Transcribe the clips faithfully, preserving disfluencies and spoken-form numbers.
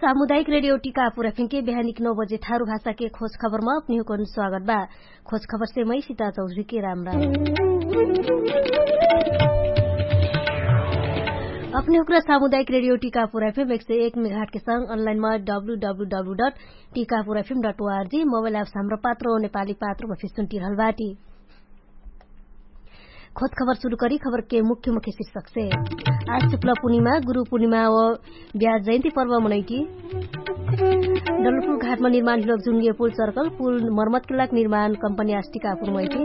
सामुदायिक रेडियो टिकापुर एफएम के बिहानिक नौ बजे थारु भाषा के खोज खबर मा अपनिहुकन स्वागत बा। खोज खबर से मै सिता चौधरी के राम राम। अपनिहुकरा सामुदायिक रेडियो टिकापुर एफएम एक सौ एक मेघाट के संग अनलाइन मा W W W dot Tikapur FM dot ORG mobile apps Hamro Patro नेपाली पात्रो मा फिर सुन्टिरहल बाटी। खोज खबर सुरु करी खबर के मुख्य मुख्य शीर्षक से। आज शुक्ल पूर्णिमा गुरु पूर्णिमा व ब्याज जयन्ती पर्व मनैटी। डलपुर घाटमा निर्माण हिलोक जुनगे पुल सर्कल पुल मर्मत केलाक निर्माण कम्पनी आज टिकापुर मैटी।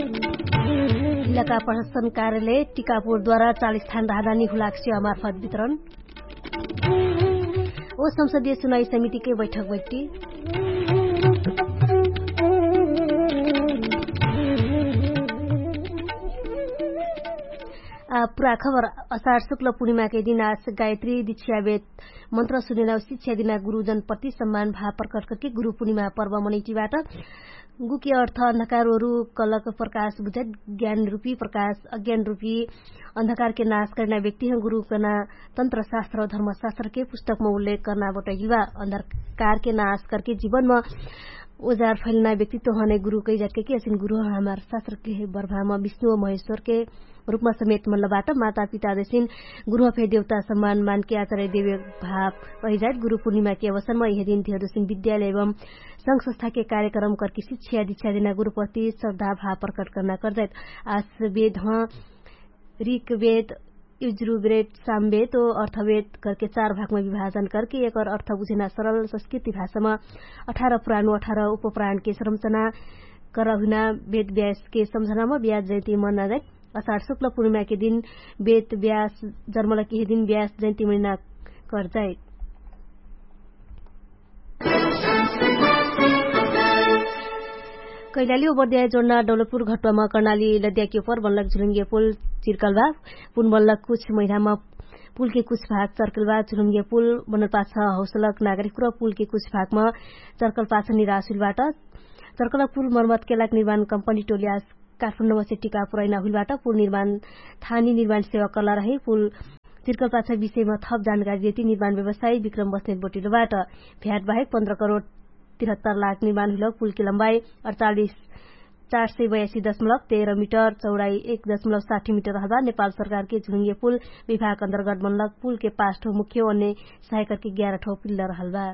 इलाका प्रशासन कार्यालय टिकापुर द्वारा चालिस थान राहदानी हुलाक सेवा मार्फत वितरण। ओ संसदीय सुनाई समिति के बैठक बैठ्टी। पुरा खबर। असार शुक्ल पूर्णिमा के दिन आज गायत्री दिच्छिया बेत मन्त्र सुनेना शिक्षा दिना गुरुजन प्रति सम्मान भाव प्रकट करके गुरु पूर्णिमा पर्व मनैटी बाट। गुके अर्थ अन्धकार ओरु कलक प्रकाश बुझाइ ज्ञान रुपी प्रकाश अज्ञान रुपी अन्धकार के नाश करना व्यक्ति ह गुरु कना तन्त्र शास्त्र धर्म शास्त्र के पुस्तक म उल्लेख करना बटैल बा। अन्धकार के नाश करके जीवन म ओजार फैलना व्यक्ति तोहने गुरु कै जात के कि असिन गुरु ह हमार शास्त्र के बर्भा म विष्णु व महेश्वर के रूपमा समेत मल्ल बाट। माता पिता जैसिन गुरु ह फे देवता सम्मान मान के आचार्य देवे भाव रहि जात। गुरु पूर्णिमा के अवसर म यह दिन धेर जैसिन विद्यालय एवं संघ संस्था के कार्यक्रम करके शिक्षा दिच्छा देना गुरु प्रति श्रद्धा भाव प्रकट करना कर जात। आस वेद ह रिक वेद युज्रु वेद साम वेद ओ अर्थ वेद करके चार भागमा विभाजन करके एकर अर्थ बुझेना सरल संस्कृति भाषामा अठार पुराण व अठार उपपुराण के संरचना करहुना वेद व्यास के सम्झनामा ब्याज जैती मन्ना जाइत। असार शुक्ल पूर्णिमा के दिन वेद व्यास जर्मल केहे दिन व्यास जैती मन्ना कर जाइत। कैलाली ओबर्द्याय जोड्ना डौलपुर घट्वामा कर्णाली लद्याकी ओपर बनलक झुलुङ्गे पुल चिर्कल बा। पुन बनलक कुछ महिनामा पुलके कुछ भाग चर्कल बा। झुलुङ्गे पुल बनल पाछ हौसलक नागरिक र पुलके कुछ भागमा चर्कल पाछ निराश हुइल बाट। चर्कल पुल मर्मत केलाक निर्माण कम्पनी टोलियास काठमाडौँमा सेट्टिका पुरैना हुइलबाट पुल निर्माण थानी निर्माण सेवा कला रहे। पुल तिर्कल पाछा विषयमा थप जानकारी देती निर्माण व्यवसायी विक्रम बस्नेत बोटिलोबाट भ्याट बाहेक पन्ध्र करोड तिरहत्तर लाख निर्माण हुइल। पुलके लम्बाई अडचालिस चार सय बयासी दशमलव तेह्र मिटर चौडाई एक दशमलव साठी मिटर रहबा नेपाल सरकारके झुङ्गे पुल विभाग अन्तर्गत बनलक पुलके पाँच ठो मुख्य अन्य सहायकरके ग्यारह ठो पिल्ल रहलबा।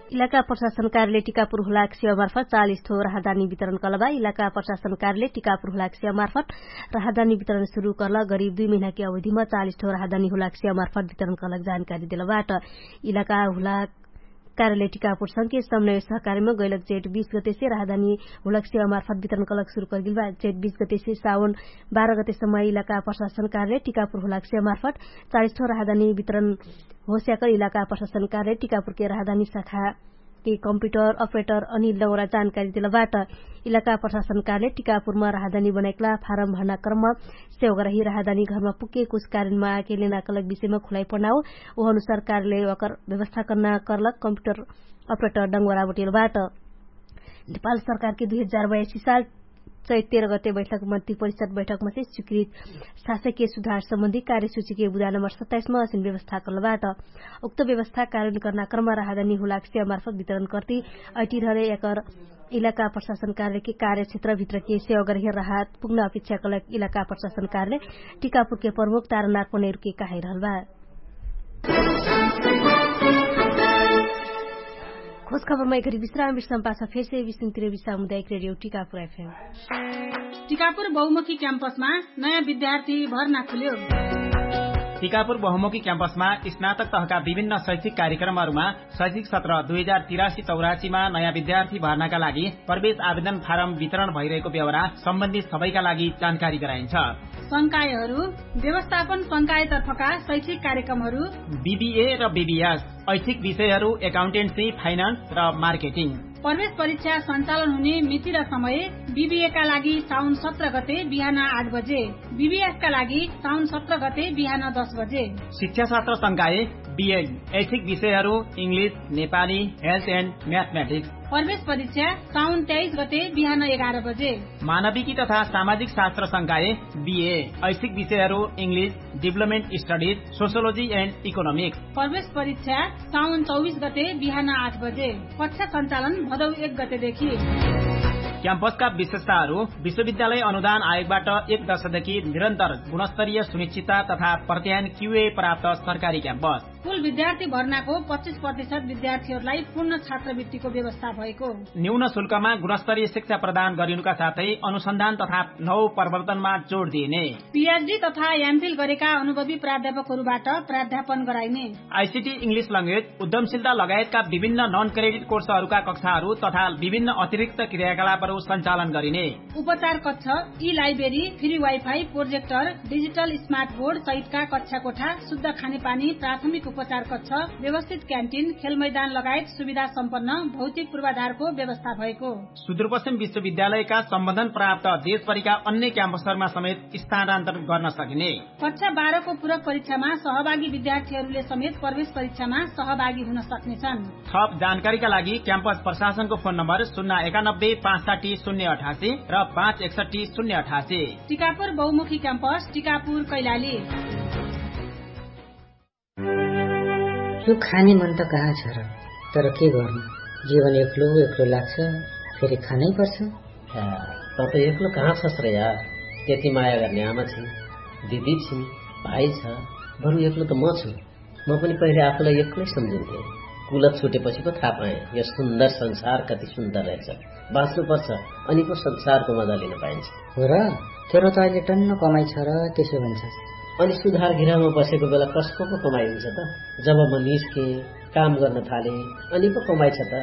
इलाका प्रशासन कार्यालय टिकापुर हुलाक सेवा मार्फत चालिस ठो राहदानी वितरण कलबा। इलाका प्रशासन कार्यालय टिकापुर हुलाक सेवा मार्फत राहदानी वितरण सुरु कल गरिब दुई महिनाके अवधिमा चालिस ठो राहदानी हुलाक सेवा मार्फत वितरण कलक जानकारी देलबाट। इलाका हुलाक कार्यालय टिकापुर संके समन्वय सहकारीमा गैलक जेठ बीस गतेसे राहदानी हुलाक सेवा मार्फत वितरण कलक सुरु कलगिलबा। जेठ बीस गतेसे सावन बाह्र गतेसम्म इलाका प्रशासन कार्यालय टिकापुर हुलाक सेवा मार्फत चालिस ठो राहदानी वितरण होस्याकर इलाका प्रशासन कार्यालय टिकापुरके राहदानी शाखा के कम्प्युटर अपरेटर अनि लौरा जानकारी देलबाट। इलाका प्रशासन कार्यालय टिकापुरमा राहदानी बनाइकला फारम भर्ना क्रममा सेवगरही राहदानी घरमा पुग्के कुछ कारणमा आके लेना कलक विषयमा खुलाइ पढ्ना हो। ओह अनुसार कार्यालय वाकर व्यवस्था कर्ना कर्लक कम्प्युटर अपरेटर डङ्गोरा बटेलबाट। नेपाल सरकारके दुई हजार बयासी साल चैत तेह्र गते बैठक मन्त्री परिषद बैठकमा चाहिँ स्वीकृत शासकीय सुधार सम्बन्धी कार्यसूचीके बुदा नम्बर सत्ताइसमा असिन व्यवस्था कर्लबाट। उक्त व्यवस्था कार्यान्वयन कर्ना क्रममा राहदानी हुलाक सेवा मार्फत वितरण कर्ती अटिरहरे एकर इलाका प्रशासन कार्यालयके कार्यक्षेत्रभित्रके सेवा गरहे राहत पुग्न अपेक्षा कलक इलाका प्रशासन कार्यालय टिकापुरके प्रमुख तारानाथ पनेरुके कहाइरहलबा। खोज खबरमा एकरी विश्राम विश्राम पाछ फेरसे विश्राम तिरेबी सामुदायिक रेडियो टिकापुर एफएम। टिकापुर बहुमुखी क्याम्पसमा नयाँ विद्यार्थी भर्ना खुल्यो। टिकापुर बहुमुखी क्याम्पसमा स्नातक तहका विभिन्न शैक्षिक कार्यक्रमहरूमा शैक्षिक सत्र दुई हजार तिरासी चौरासीमा नयाँ विद्यार्थी भर्नाका लागि प्रवेश आवेदन फारम वितरण भइरहेको बेहोरा सम्बन्धित सबैका लागि जानकारी गराइन्छ। संकायहरू व्यवस्थापन संकायतर्फका शैक्षिक कार्यक्रमहरू बिबिए र बिबिएस ऐच्छिक विषयहरू एकाउन्टेन्सी फाइनान्स र मार्केटिङ। प्रवेश परीक्षा सञ्चालन हुने मिति र समय बिबिएका लागि साउन सत्र गते बिहान आठ बजे, बिबिएसका लागि साउन सत्र गते बिहान दस बजे। शिक्षा सत्र संकाय बिएन ऐच्छिक विषयहरू इङ्ग्लिस, नेपाली, हेल्थ एन्ड म्याथमेटिक्स। प्रवेश परीक्षा साउन तेइस गते बिहान एघार बजे। मानविकी तथा सामाजिक शास्त्र संकाय, बिए, ऐशिक विषयहरू, इङ्ग्लिस, डिभ्लोपमेन्ट स्टडिज, सोसियोलोजी एन्ड इकोनोमिक्स। प्रवेश परीक्षा साउन चौबिस गते बिहान आठ बजे। कक्षा सञ्चालन भदौ एक गतेदेखि। क्याम्पसका विशेषताहरू, विश्वविद्यालय अनुदान आयोगबाट एक दशकदेखि निरन्तर गुणस्तरीय सुनिश्चितता तथा प्रत्यायन क्युए प्राप्त सरकारी क्याम्पस। कुल विद्यार्थी भर्नाको पच्चिस प्रतिशत विद्यार्थीहरूलाई पूर्ण छात्रवृत्तिको व्यवस्था भएको। न्यून शुल्कमा गुणस्तरीय शिक्षा प्रदान गरिनुका साथै अनुसन्धान तथा नौ प्रवर्तनमा जोड दिइने। पिएचडी तथा एमफिल गरेका अनुभवी प्राध्यापकहरूबाट प्राध्यापन गराइने। आइसिटी, इङ्ग्लिस ल्याङ्ग्वेज, उद्यमशीलता लगायतका विभिन्न नन क्रेडिट कोर्सहरूका कक्षाहरू तथा विभिन्न अतिरिक्त क्रियाकलापहरू सञ्चालन गरिने। उपचार कक्ष, ई library, free wifi, projector, digital smart board सहितका कक्षा कोठा, शुद्ध खानेपानी, प्राथमिक उपचार कक्ष, व्यवस्थित क्यान्टिन, खेल मैदान लगायत सुविधा सम्पन्न भौतिक पूर्वाधारको व्यवस्था भएको। सुदूरपश्चिम विश्वविद्यालयका सम्बन्धन प्राप्त देशभरिका अन्य क्याम्पसहरूमा समेत स्थानान्तरण गर्न सकिने। कक्षा बाह्रको पूरक परीक्षामा सहभागी विद्यार्थीहरूले समेत प्रवेश परीक्षामा सहभागी हुन सक्नेछन्। थप जानकारीका लागि क्याम्पस प्रशासनको फोन नम्बर शून्य एकानब्बे पाँच साठी शून्य अठासी र पाँच एकसठी शून्य अठासी। टिकापुर बहुमुखी क्याम्पस, टिकापुर, कैलाली। यो खाने मन त कहाँ छ र? तर के गर्नु, जीवन एक्लो एक्लो लाग्छ, फेरि खानै पर्छ। या, त त एक्लो कहाँ छस् र यार? त्यति माया गर्ने आमा छिन्, दिदी छिन्, भाइ छ, बरु एक्लो त म छु। म पनि पहिले आफूलाई एक्लै सम्झिन्थेँ। कुलत छुटेपछि पो थाहा पाएँ, यो सुन्दर संसार कति सुन्दर रहेछ। बाँच्नुपर्छ, अनि पो संसारको मजा लिन पाइन्छ। हो र, तेरो त अहिले टन्न कमाइ छ र, त्यसो भन्छ। अनि सुधार गृहमा बसेको बेला कसको पो कमाइ हुन्छ त? जब म निस्केँ, काम गर्न थालेँ, अनि पो कमाइ छ त?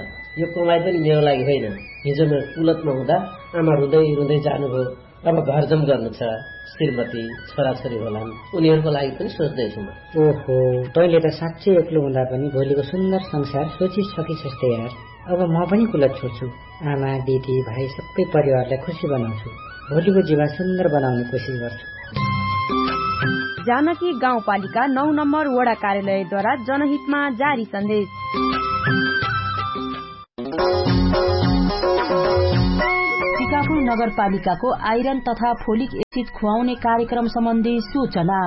यो कमाइ पनि मेरो लागि होइन। हिजो म कुलतमा हुँदा आमा रुँदै रुँदै जानुभयो। अब घरजम गर्नु छ, श्रीमती, छोराछोरी होलान्, उनीहरूको लागि पनि सोच्दैछु म। ओहो, तैँले त साँच्चै एक्लो हुँदा पनि भोलिको सुन्दर संसार सोचिसकिसस् त यार। अब म पनि कुलत छोड्छु। आमा, दिदी, भाइ, सबै परिवारलाई खुसी बनाउँछु। भोलिको जीवन सुन्दर बनाउने कोसिस गर्छु। जानकी गाउँपालिका नौ नम्बर वडा कार्यालयद्वारा जनहितमा जारी सन्देश। टिकापुर नगरपालिकाको आइरन तथा फोलिक एसिड खुवाउने कार्यक्रम सम्बन्धी सूचना।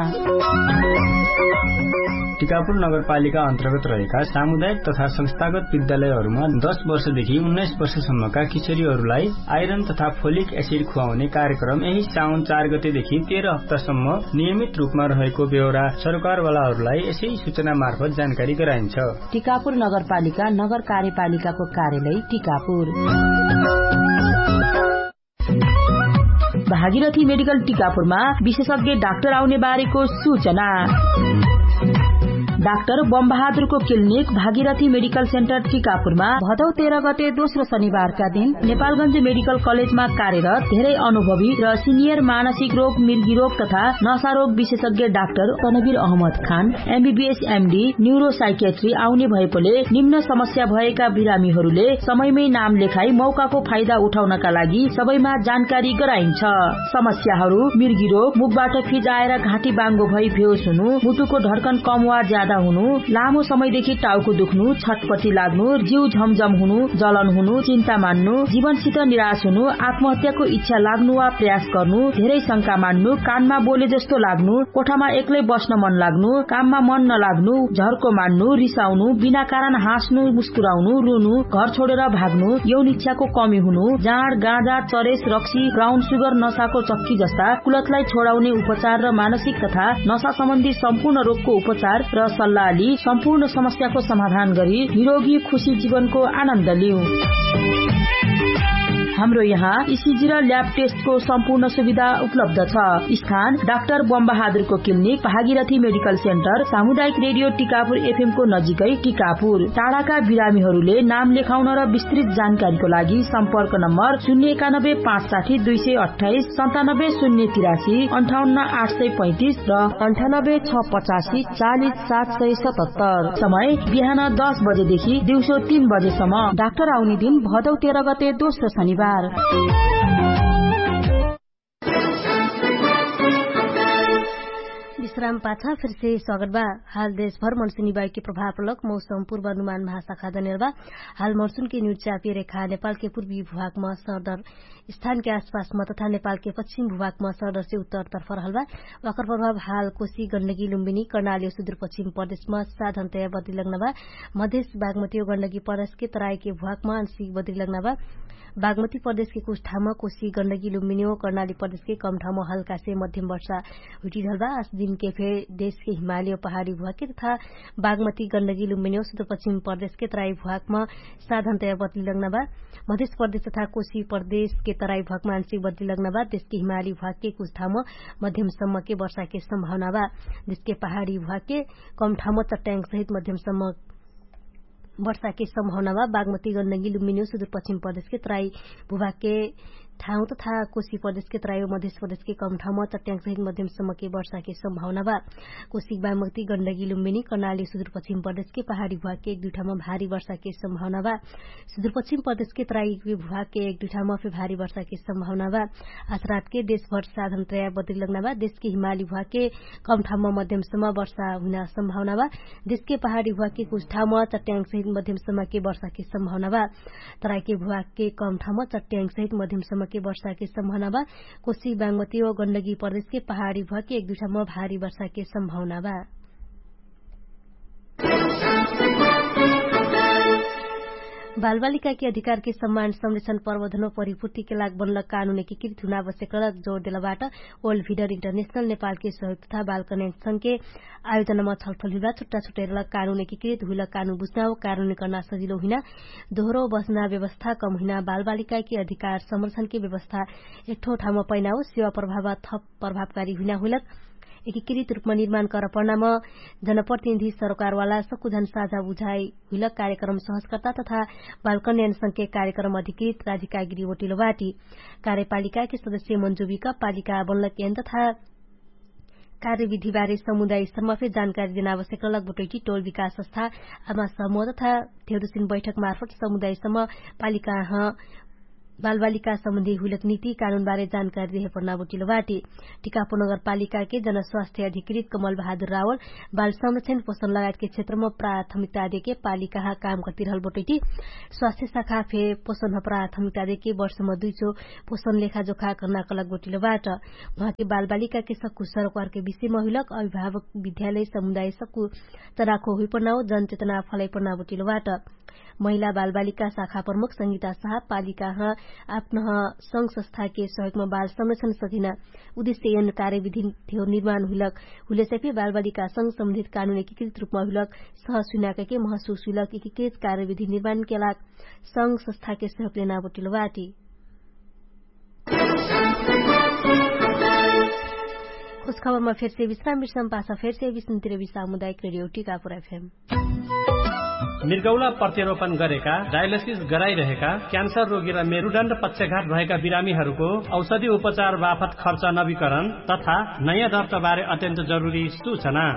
टिकापुर नगरपालिका अन्तर्गत रहेका सामुदायिक तथा संस्थागत विद्यालयहरूमा दस वर्षदेखि उन्नाइस वर्षसम्मका किशोरीहरूलाई आइरन तथा फोलिक एसिड खुवाउने कार्यक्रम यही साउन चार गतेदेखि तेह्र हप्तासम्म नियमित रूपमा रहेको बेहोरा सरकारवालाहरूलाई यसै सूचना मार्फत जानकारी गराइन्छ। टिकापुर नगरपालिका नगर कार्यपालिकाको कार्यालय टिकापुर। भागीरथी मेडिकल टिकापुरमा विशेषज्ञ डाक्टर आउने बारेको सूचना। डाक्टर बमबहादुरको क्लिनिक भागीरथी मेडिकल सेन्टर टिकापुरमा भदौ तेह्र गते दोस्रो शनिबारका दिन नेपालगञ्ज मेडिकल कलेजमा कार्यरत धेरै अनुभवी र सिनियर मानसिक रोग, मिर्गी रोग तथा नशा रोग विशेषज्ञ डाक्टर तनवीर अहमद खान एमबीबीएस एमडी न्युरोसाइकेट्री आउने भएकोले निम्न समस्या भएका बिरामीहरूले समयमै नाम लेखाई मौकाको फाइदा उठाउनका लागि सबैमा जानकारी गराइन्छ। समस्याहरू मिर्गी रोग, मुखबाट फिज आएर घाँटी बाङ्गो भई बेहोस हुनु, मुटुको धड्कन कम वा ज्यादा हुनु, लामो समयदेखि टाउको दुख्नु, छटपटी लाग्नु, जिउ झमझम हुनु, जलन हुनु, चिन्ता मान्नु, जीवनसित निराश हुनु, आत्महत्याको इच्छा लाग्नु वा प्रयास गर्नु, धेरै शंका मान्नु, कानमा बोले जस्तो लाग्नु, कोठामा एक्लै बस्न मन लाग्नु, काममा मन नलाग्नु, झर्को मान्नु, रिसाउनु, बिना कारण हाँस्नु, मुस्कुराउनु, रुनु, घर छोडेर भाग्नु, यौन इच्छाको कमी हुनु, जाँड, गाँजा, चरेस, रक्सी, ब्राउन सुगर, नशाको चक्की जस्ता कुलतलाई छोडाउने उपचार र मानसिक तथा नशा सम्बन्धी सम्पूर्ण रोगको उपचार र सल्लाह लि सम्पूर्ण समस्याको समाधान गरी निरोगी खुसी जीवनको आनन्द लिउ। हाम्रो यहाँ इसिजी र ल्याब टेस्टको सम्पूर्ण सुविधा उपलब्ध छ। स्थान डाक्टर बमबहादुरको क्लिनिक, भागीरथी मेडिकल सेन्टर, सामुदायिक रेडियो टिकापुर एफएमको नजिकै टिकापुर। टाढाका बिरामीहरूले नाम लेखाउन र विस्तृत जानकारीको लागि सम्पर्क नम्बर शून्य एकानब्बे पाँच साठी दुई सय अट्ठाइस, सन्तानब्बे शून्य तिरासी, अन्ठाउन्न आठ सय पैँतिस र अन्ठानब्बे छ पचासी चालिस सात सय सतहत्तर। समय बिहान दस बजेदेखि दिउँसो तीन बजेसम्म। डाक्टर आउने दिन भदौ तेह्र गते दोस्रो शनिबार। विश्राम पाछा फेरसे स्वागत बा। हाल देशभर मनसुनी बाइके प्रभाव लक मौसम पूर्वानुमान महाशाखा दनेल बा। हाल मनसुनके न्युचापी रेखा नेपालके पूर्वी भुवाकमा सरदर स्थानके आसपासमा तथा नेपालके पश्चिम भुवाकमा सरदरसे उत्तर तर्फ रहल बा। वाकर प्रभाव हाल कोशी गण्डगी लुम्बिनी कर्णाली सुदूर पश्चिम प्रदेशमा साधनतया बदली लग्न बा। मधेश बागमती गण्डगी प्रदेशके तराईके भुवाकमा आंशिक बदली लग्न बा। बागमती प्रदेशके कुछ ठाउँमा कोशी गण्डगी लुम्बिनी कर्णाली प्रदेशके कम ठाउँमा हल्कासे मध्यम वर्षा हुइटिरहल बा। आस दिनके फे देशके हिमाली पहाडी भुवाके तथा बागमती गण्डगी लुम्बिनी सुदूर पश्चिम प्रदेशके तराई भुवाकमा साधनतया बदली लग्न बा। मधेश प्रदेश तथा कोशी प्रदेशके तराई भुवाकमा आंशिक बदली लग्न बा। देशके हिमाली भुवाके कुछ ठाउँमा मध्यम सम्मके वर्षाके सम्भावना बा। देशके पहाडी भुवाके कम ठाउँमा चट्याङ्ग सहित मध्यम सम्म वर्षाके सम्भावना बा। बागमती गण्डगी लुम्बिनी सुदूर पश्चिम प्रदेशके तराई भुवाके ठाउँ तथा कोशी प्रदेशके तराई मधेश प्रदेशके कम ठाउँमा चट्याङ्ग सहित मध्यम सम्मके वर्षाके सम्भावना बा। कोशी बागमती गण्डगी लुम्बिनी कर्णाली सुदूर पश्चिम प्रदेशके पहाडी भुवाके एक दुई ठाउँमा भारी वर्षाके सम्भावना बा। सुदूर पश्चिम प्रदेशके तराई भुवाके एक दुई ठाउँमा फे भारी वर्षाके सम्भावना बा। आसरातके देशभर साधनतया बदली लग्न बा। देशके हिमाली भुवाके कम ठाउँमा मध्यम सम्म वर्षा हुइना सम्भावना बा। देशके पहाडी भुवाके कुछ ठाउँमा चट्याङ्ग सहित मध्यम सम्मके वर्षाके सम्भावना बा। तराईके भुवाके कम ठाउँमा चट्याङ्ग सहित मध्यम सम्मके वर्षाके सम्भावना बा। कोशी बागमती व गण्डगी प्रदेशके पहाडी भुवाके एक दुई ठाउँमा भारी वर्षाके सम्भावना बा। बालबालिकाके अधिकारके सम्मान संरक्षण प्रवर्धन व परिपूर्तिके लाग बनल कानुन एकीकृत हुना आवश्यक रहलक जोर देलबाट। ओल्ड भिडर इन्टरनेशनल नेपालके सहयोग तथा बालकन्या संघके आयोजनामा छलफल हुइबा छुट्टा छुट्टै रहलक कानुन एकीकृत हुइलक कानुन बुझ्ना व कानुन कर्ना सजिलो हुइना, दोहरो बस्ना व्यवस्था कम हुइना बालबालिकाके अधिकार संरक्षणके व्यवस्था एकठो ठाउँमा पैना हो सेवा प्रभाव थप प्रभावकारी हुइना हुइलक एकीकृत रूपमा निर्माण कर पर्नाम। जनप्रतिनिधि सरकारवाला सकुझन साझा बुझाइ हुइलक कार्यक्रम सहजकर्ता तथा बालकन्यान संघके कार्यक्रम अधिकृत राजिकागिरी ओटिलो बाटी। कार्यपालिकाके सदस्य मन्जुबिक पालिका बनलक यन तथा कार्यविधिबारे समुदाय स्तरमा फे जानकारी देना आवश्यक रहलक बटोइटी टोल विकास संस्था आमा समूह तथा धेउदुसिन बैठक मार्फत समुदाय स्तरमा पालिका ह बालबालिका सम्बन्धी हुइलक नीति कानुनबारे जानकारी देहे पर्ना बटिलो बाटी। टिकापुर नगरपालिकाके जनस्वास्थ्य अधिकृत कमल बहादुर रावल बाल संरक्षण पोषण लगायतके क्षेत्रमा प्राथमिकता देके पालिकाहा काम कर्तिरहल बटोइटी स्वास्थ्य शाखा फे पोषण ह प्राथमिकता देके वर्षमा दुइचो पोषण लेखा जोखा कर्ना कलक बटिलो बाट। उहाँके बालबालिकाके सक्कु सरकारके विषयमा हुइलक अभिभावक विद्यालय समुदाय सक्कु चराखो हुइपर्ना हो जनचेतना फलाइपर्ना बटिलो बाट। महिला बालबालिका शाखा प्रमुख संगीता साहब पालिकाह आपनह संघ संस्थाके सहयोगमा बाल संरक्षण सजिना उद्देश्य यन कार्यविधि धेउ निर्माण हुइलक हुइलेसैफे बालबालिका संघ सम्बन्धित कानुन एकीकृत रूपमा हुइलक सहसुइनाकैके महसुस हुइलक एकीकृत कार्यविधि निर्माणके लाग संघ संस्थाके सहयोग लेना बटिलो बाटी। खुशखबरमा फेरसे विश्राम विश्राम पासा फेरसे विश्रामतिर विश्राम मुदायक रेडियो टिकापुर एफएम। मृगौला प्रत्यारोपण गरेका डायलिसिस गराइरहेका क्यान्सर रोगी र मेरुदण्ड पक्षघात भएका बिरामीहरूको औषधि उपचार बाफत खर्च नवीकरण तथा नयाँ दर्ताबारे अत्यन्त जरुरी सूचना।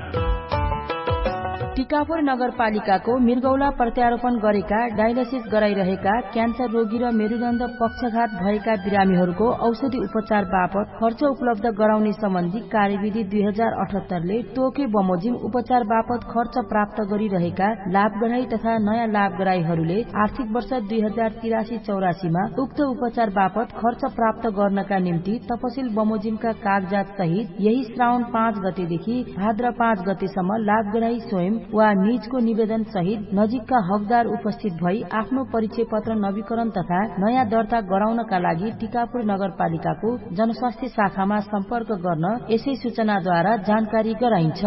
टिकापुर नगरपालिकाको मृगौला प्रत्यारोपण गरेका डायलिसिस गराइरहेका क्यान्सर रोगी र मेरुदण्ड पक्षघात भएका बिरामीहरूको औषधि उपचार बापत खर्च उपलब्ध गराउने सम्बन्धी कार्यविधि दुई हजार अठहत्तरले तोके बमोजिम उपचार बापत खर्च प्राप्त गरिरहेका लाभग्राही तथा नयाँ लाभग्राहीहरूले आर्थिक वर्ष दुई हजार तिरासी चौरासीमा उक्त उपचार बापत खर्च प्राप्त गर्नका निम्ति तपसिल बमोजिमका कागजात सहित यही श्रावण पाँच गतेदेखि भाद्र पाँच गतेसम्म लाभग्राही स्वयं वा निजको निवेदन सहित नजिकका हकदार उपस्थित भई आफ्नो परिचय पत्र नवीकरण तथा नयाँ दर्ता गराउनका लागि टिकापुर नगरपालिकाको जनस्वास्थ्य शाखामा सम्पर्क गर्न यसै सूचनाद्वारा जानकारी गराइन्छ।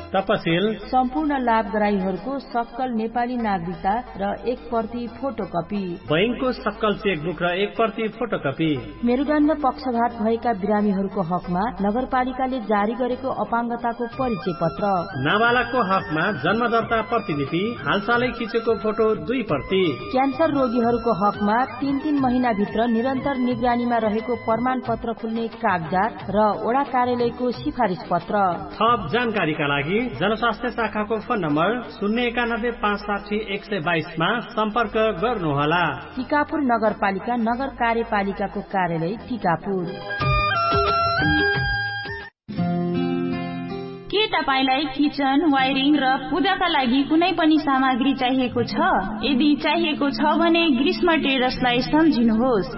तपसिल सम्पूर्ण लाभग्राहीहरूको सक्कल नेपाली नागरिकता र एक प्रति फोटोकपी बैंकको सक्कल चेकबुक र एक प्रति फोटोकपी। मेरुदण्ड पक्षघात भएका बिरामीहरूको हकमा नगरपालिकाले जारी गरेको अपाङ्गताको परिचय पत्र। नाबालकको हकमा जन्मदर्ता प्रतिलिपि हालसालै खिचेको फोटो दुई प्रति। क्यान्सर रोगीहरूको हकमा तीन तीन महिनाभित्र निरन्तर निगरानीमा रहेको प्रमाणपत्र खुल्ने कागजात र ओडा कार्यालयको सिफारिस पत्र। थप जानकारीका लागि जनस्वास्थ्य शाखाको फोन नम्बर शून्य एकानब्बे पाँच साठी एक सय बाइसमा सम्पर्क गर्नुहोला। टिकापुर नगरपालिका नगर कार्यपालिकाको कार्यालय टिकापुर। के तपाईंलाई किचन वायरिङ र पूजाका लागि कुनै पनि सामग्री चाहिएको छ? यदि चाहिएको छ भने ग्रीष्म ट्रेडर्सलाई सम्झिनुहोस्।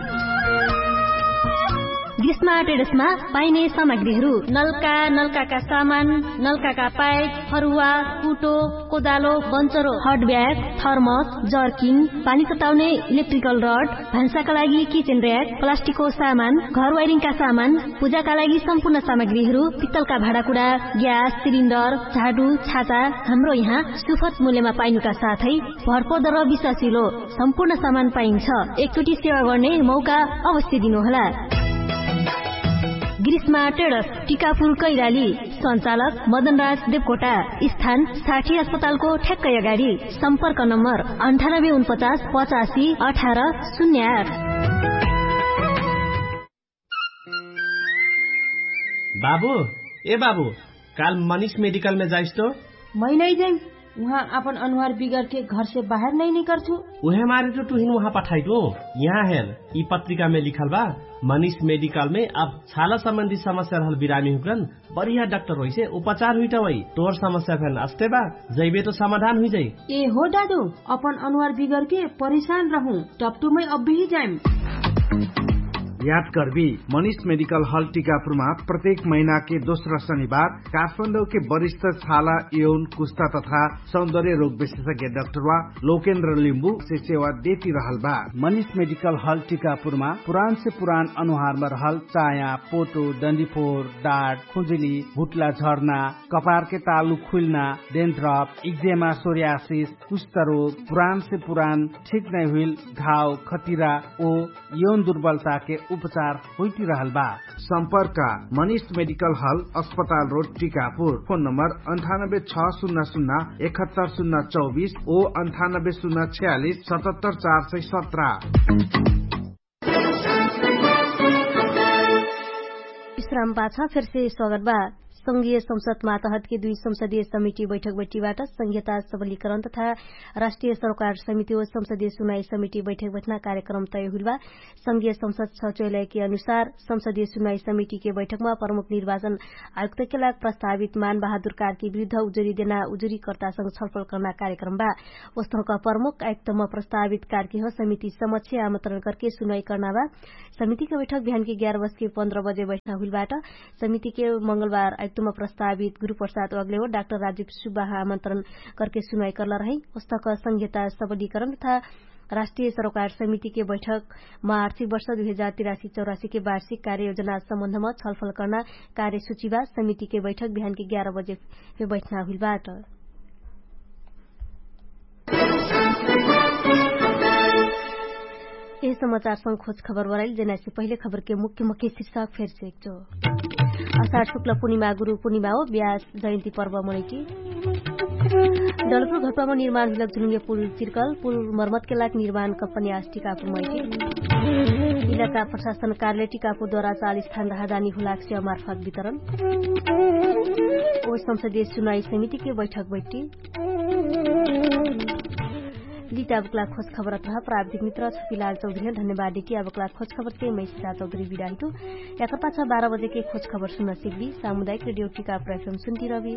ग्रीष्म ट्रेडर्समा पाइने सामग्रीहरू: नलका, नलकाका सामान, नलकाका पाइप, फरुवा, कुटो, कोदालो, बन्चरो, हट ब्याग, थर्मस, जर्किन, पानी तताउने इलेक्ट्रिकल रड, भान्साका लागि किचन र्‍याक, प्लास्टिकको सामान, घर वायरिङका सामान, पूजाका लागि सम्पूर्ण सामग्रीहरू, पित्तलका भाँडाकुँडा, ग्यास सिलिन्डर, झाडु, छाता, हाम्रो यहाँ सुफत मूल्यमा पाइनुका साथै भरपर्दो र विश्वासिलो सम्पूर्ण सामान पाइन्छ। एकचोटि सेवा गर्ने मौका अवश्य दिनुहोला। ग्रीष्मा ट्रेडर्स, टिकापुर कैलाली। सञ्चालक मदनराज देवकोटा। स्थान साठी अस्पतालको ठ्याक्कै अगाडि। सम्पर्क नम्बर अन्ठानब्बे उनपचास पचासी अठार शून्य आठ। बाबु, ए बाबु, काल मनिष मेडिकलमे जाइस तो? मै नै जाइम। उहाँ आपन अनुहार बिगरके घरसे बाहेर नै निकर्छु। उहे मारे तो तुहिन उहाँ पठाइटु। यहाँ हेर, यि पत्रिकामे लिखल बा, मनिष मेडिकलमे अब छाला सम्बन्धी समस्या रहल बिरामी हुकरन बढिया डाक्टर होइसे उपचार हुइटा वइ। तोर समस्या फेन अस्ते बा, जैबे तो समाधान हुइजाइ। ए हो दादु, अपन अनुहार बिगरके परेशान रहु, टपटुमै अब्बेही जाइम। याद करबी, मनिष मेडिकल हल टिकापुरमा प्रत्येक महिनाके दोस्रा शनिबार काठमाडौके वरिष्ठ छाला यौन कुस्ता तथा सौन्दर्य रोग विशेषज्ञ डाक्टरवा लोकेन्द्र लिम्बु से सेवा देति रहल बा। मनिष मेडिकल हल टिकापुरमा पुरान से पुरान अनुहारमा रहल चाया, पोटो, डन्डिफोर, डाट, खुजुली, भुट्ला झर्ना, कपारके तालु खुइल्ना, डेन्ड्रप, इक्जेमा, सोर्यासिस, कुष्ठरोग, पुरान से पुरान ठिक नै हुइल घाव, खतिरा ओ यौन दुर्बलताके उपचार होइति रहल बा। सम्पर्क मनिष मेडिकल हल, अस्पताल रोड, टिकापुर। फोन नम्बर अन्ठानब्बे छ सुन्ना सुन्ना एकहत्तर सुन्ना चौबिस ओ अन्ठानब्बे सुन्ना छयालिस सतहत्तर चार सय सत्र। विश्राम पाछा फेरसे स्वागत बा। संघीय संसद मातहतके दुई संसदीय समिति बैठक बैठीबाट संघीयता सबलीकरण तथा राष्ट्रिय सरोकार समिति ओ संसदीय सुनाई समिति बैठक बैठना कार्यक्रम तय हुइल बा। संघीय संसद सचोयलयके अनुसार संसदीय सुनाई समितिके बैठकमा प्रमुख निर्वाचन आयुक्तके लाग प्रस्तावित मान बहादुर कारके विरुद्ध उजुरी देना उजुरीकर्तासँग छलफल कर्ना कार्यक्रम बा। ओस्तहक प्रमुख आयुक्तमा प्रस्तावित कारके हो समिति समक्ष आमन्त्रण करके सुनाई कर्ना बा। समितिके बैठक बिहानके ग्यार बजके पन्ध्र बजे बैठना हुइलबाट। समितिके मंगलबार आयुक्तमा प्रस्तावित गुरुप्रसाद अग्लेओ डाक्टर राजीव सुब्बाह आमन्त्रण करके सुनाई कर्ला रहै। ओस्तक संघीयता सबलीकरण तथा राष्ट्रिय सरोकार समितिके बैठकमा आर्थिक वर्ष दुई हजार तिरासी चौरासीके वार्षिक कार्ययोजना सम्बन्धमा छलफल कर्ना कार्यसुचिबा। समितिके बैठक बिहानके ग्यार बजे फे बैठना हुइलबाट। यही समाचारसँग खोज खबर बराइल जेनासे पहिले खबरके मुख्य मुख्य शिर्षक फेरसे एकचो। असार शुक्ल पुनिमा गुरु पुनिमा हो ब्यास जयन्ती पर्व मनैटी। डलपुर घटपामा निर्माण हुइलक जुलुङ्गे पुल चिर्कल पुल मर्मतके लाग निर्माण कम्पनी आस टिकापुर मैटी। इलाका प्रशासन कार्यालय टिकापुर द्वारा चालिस थान राहदानी हुलाक सेवा मार्फत वितरण। ओ संसदीय सुनाई समितिके बैठक बैठी। लिटा बक्ला खोज खबरत रह प्राविधिक मित्र छपिलाल चौधरी धन्यवाद देटी आ बक्ला खोज खबरके मैसिता चौधरी बिराहिटु। याकर पाछा बाह्र बजेके खोज खबर सुन्न सिक्बी सामुदायिक रेडियो टिकापुर एफएम सुन्ती रबी।